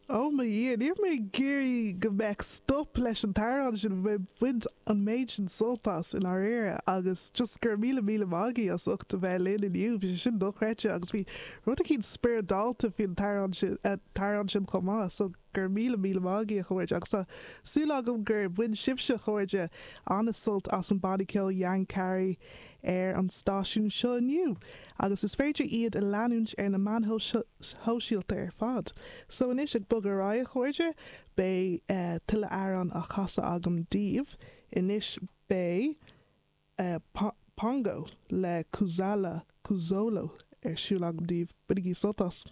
Ó mo Dhia, ní raibh mé ag iarraidh go mbeadh stop leis an t-amhrán sin, bhí mé ag baint an méid sin sult as i ndáiríre agus just go raibh míle míle maith agaibh as ucht a bheith linn inniu, bhí sé sin dochreidte agus bhí rud eicínt spioradálta faoin t-amhrán sin, t-amhrán sin chomh maith so go raibh míle míle maith agaibh a chairde agus tá súil agam gur bhain sibhse a chairde an-sult as an banna ceoil Yankari ar an stáisiún seo inniu agus is féidir iad a leanúint ar na meáin shóisialta ar fad. So anois ag bogadh ar aghaidh a chairde, beidh tuilleadh amhrán á chasadh agam daoibh. Anois beidh Pongo le Kuzala Kuzolo ar siúl agam daoibh. Bainigí sult as!